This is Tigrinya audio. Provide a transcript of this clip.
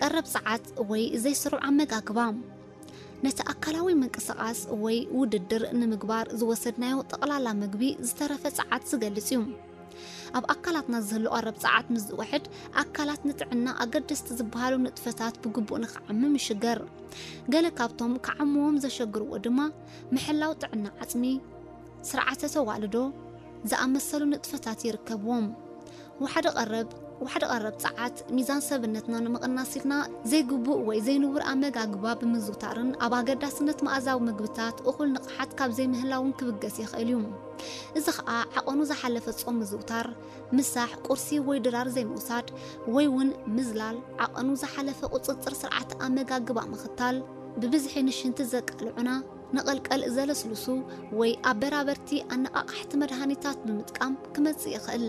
ቀረብ ጸዓት ወይ ዘይስሩዕ ኣመጋግባ። ነቲ ኣካላዊ ምንቅስቓስ ወይ ውድድር ንምግባር ዝወሰድናዮ ጠቕላላ ምግቢ ዝተረፈ ጸዓት ዝገልጽ እዩ። ኣብ ኣካላትና ዝህሉ ቀረብ ጸዓት ምስ ዝውሕድ፣ ኣካላት ንጥዕና ኣገደስቲ ዝበሃሉ ንጥፈታት ብግቡእ ንኽዓምም ይሽገር። ገለ ካብቶም ክዓምዎም ዘሸግርዎ ድማ ምሕላው ጥዕና ዓጽሚ፣ ስርዓተ ተዋልዶ ዝኣመሰሉ ንጥፈታት ይርከብዎም። ዋሕዲ ቀረብ ዋሕዲ ቀረብ ጸዓት ሚዛን ሰብነትና ንምቕናስ ኢልና ዘይግቡእ ወይ ዘይንቡር ኣመጋግባ ብምዝውታርን ኣብ ኣገዳስነት መኣዛዊ ምግብታት እኹል ንቕሓት ካብ ዘይምህላውን ክብገስ ይኽእል እዩ። እዚ ኸኣ ዓቐኑ ዝሓለፈ ጾም ምዝውታር፣ ምሳሕ፣ ቁርሲ ወይ ድራር ዘይምውሳድ ወይ እውን ምዝላል፣ ዓቐኑ ዝሓለፈ ቁጽጽር ስርዓት ኣመጋግባ ምኽታል፣ ብብዝሒ ንሽንቲ ዘቃልዑና ንቐልቀል ዘለስልሱ ወይ ኣበራበርቲ ኣነቓቓሕቲ መድሃኒታት ብምጥቃም ክመጽእ ይኽእል።